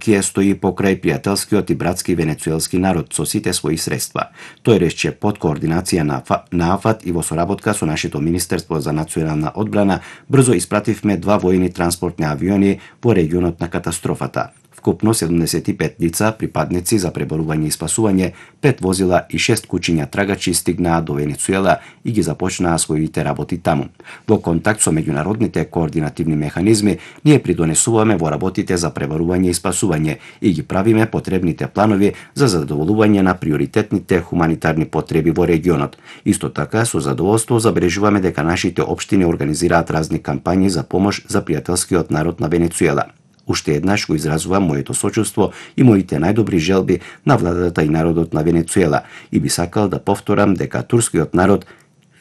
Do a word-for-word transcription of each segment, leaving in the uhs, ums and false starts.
Турскија стои покрај пријателскиот и братски венецуелски народ со сите своји средства. Тој рече под координација на, на АФАД и во соработка со нашето Министерство за национална одбрана брзо испративме два војни транспортни авиони во регионот на катастрофата. Вкупно седумдесет и пет лица, припадници за преборување и спасување, пет возила и шест кучиња трагачи стигнаа до Венецуела и ги започнаа своите работи таму. Во контакт со меѓународните координативни механизми, ние придонесуваме во работите за преборување и спасување и ги правиме потребните планови за задоволување на приоритетните хуманитарни потреби во регионот. Исто така, со задоволство забележуваме дека нашите општини организираат разни кампањи за помош за пријателскиот народ на Венецуела. Уште еднаш го изразувам моето сочувство и моите најдобри желби на владата и народот на Венецуела и би сакал да повторам дека турскиот народ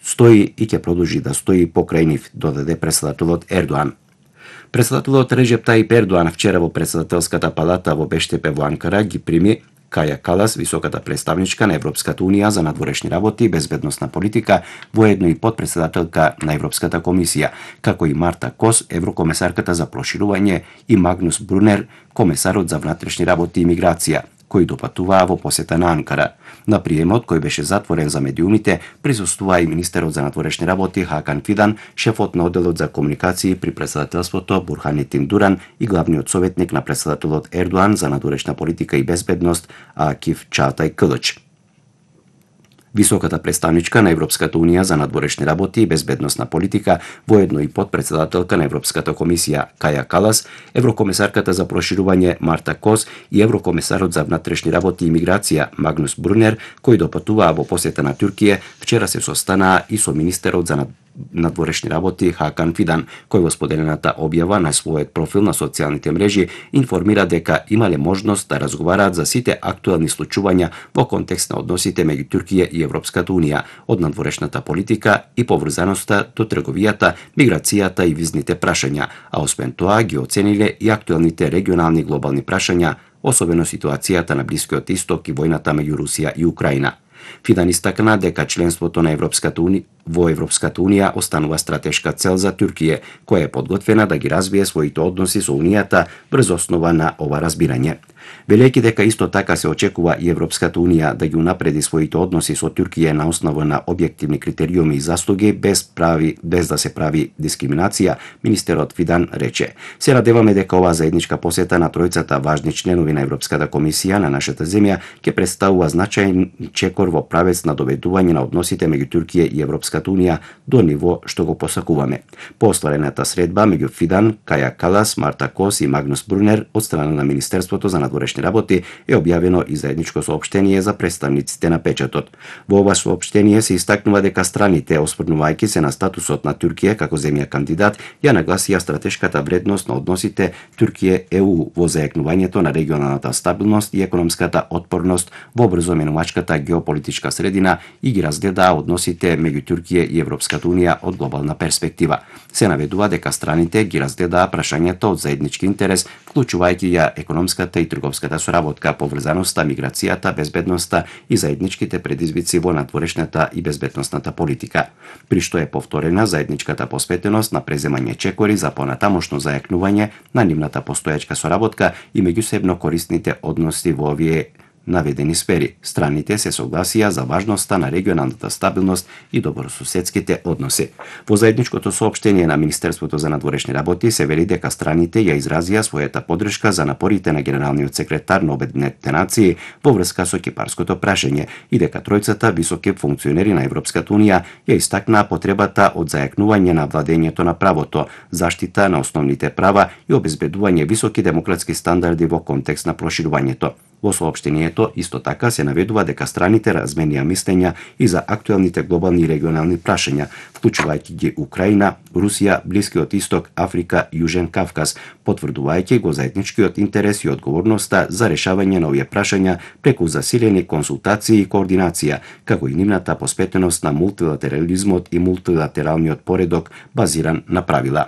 стои и ќе продолжи да стои покрај нив, додаде претседателот Ердоан. Претседателот Реджеп Таип Ердоан вчера во претседателската палата во Бештепе во Анкара ги прими Каја Калас, високата представничка на Европската унија за надворешни работи и безбедносна политика, воедно и подпредседателка на Европската комисија, како и Марта Кос, еврокомесарката за проширување, и Магнус Брунер, комесарот за внатрешни работи и миграција, кои допатуваа во посета на Анкара. На приемот, кој беше затворен за медиумите, присуствува и министерот за надворешни работи Хакан Фидан, шефот на одделот за комуникации при претседателството Бурханетин Дуран и главниот советник на претседателот Ердоан за надворешна политика и безбедност Акиф Чаатај Кылыч. Високата представничка на Европската унија за надворешни работи и безбедносна политика, воедно и подпредседателка на Европската комисија Каја Калас, еврокомесарката за проширување Марта Кос и еврокомесарот за внатрешни работи и миграција Магнус Брунер, кои допатуваа во посета на Туркија, вчера се состанаа и со министерот за надворешни работи Хакан Фидан, кој во споделената објава на својот профил на социјалните мрежи информира дека имале можност да разговараат за сите актуелни случувања во контекст на односите меѓу Туркија и Европската унија, од надворешната политика и поврзаноста до трговијата, миграцијата и визните прашања, а освен тоа ги оцениле и актуелните регионални глобални прашања, особено ситуацијата на Блискиот Исток и војната меѓу Русија и Украина. Фидан истакна дека членството на Европската унија во Европската унија останува стратешка цел за Туркија, која е подготвена да ги развие своите односи со Унијата врз основа на ова разбирање. Велејќи дека исто така се очекува и Европската унија да ги унапреди своите односи со Туркија на основа на објективни критериуми и заслуги без прави без да се прави дискриминација, министерот Фидан рече: "Се надеваме дека оваа заедничка посета на тројцата важни членови на Европската комисија на нашата земја ќе представува значајен чекор во правец на доведување на односите меѓу Туркија и Европската унија до ниво што го посакуваме." По остварената средба меѓу Фидан, Каја Калас, Марта Кос и Магнус Брунер од страна на Министерството за надворешни работи е објавено и заедничко соопштение за представниците на печатот. Во ова соопштение се истакнува дека страните, осврнувајќи се на статусот на Туркија како земја кандидат, ја нагласија стратешката вредност на односите Туркија-Е У во зајакнувањето на регионалната стабилност и економската отпорност во брзо менувачката геополитичка средина и ги разгледаа односите меѓу Туркија и Европската унија од глобална перспектива. Се наведува дека страните ги разгледаа прашањата од заеднички интерес, вклучувајќи ја економската и трговската соработка, поврзаноста, миграцијата, безбедноста и заедничките предизвици во надворешната и безбедносната политика, при што е повторена заедничката посветеност на преземање чекори за понатамошно зајакнување на нивната постојачка соработка и меѓусебно корисните односи во овие наведени сфери. Страните се согласија за важноста на регионалната стабилност и добросуседските односи. Во заедничкото соопштение на Министерството за надворешни работи се вели дека страните ја изразија својата поддршка за напорите на генералниот секретар на Обединетите нации во врска со кипарското прашање и дека тројцата високи функционери на Европската унија ја истакнаа потребата од зајакнување на владењето на правото, заштита на основните права и обезбедување високи демократски стандарди во контекст на проширувањето. Во соопштението исто така се наведува дека страните разменија мислења и за актуелните глобални и регионални прашања, вклучувајќи ги Украина, Русија, Блискиот Исток, Африка и Јужен Кавказ, потврдувајќи го заедничкиот интерес и одговорноста за решавање на овие прашања преку засилени консултации и координација, како и нивната посветеност на мултилатерализмот и мултилатералниот поредок базиран на правила.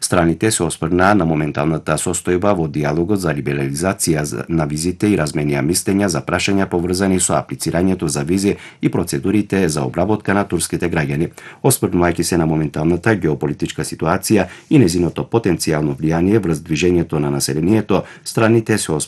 Страните се осврнаа на моменталната состојба во диалогот за либерализација на визите и разменија мислења за прашања поврзани со аплицирањето за визи и процедурите за обработка на турските граѓани. Осврнувајќи се на моменталната геополитичка ситуација и незиното потенцијално влијание врз движењето на населението, страните се осврнаа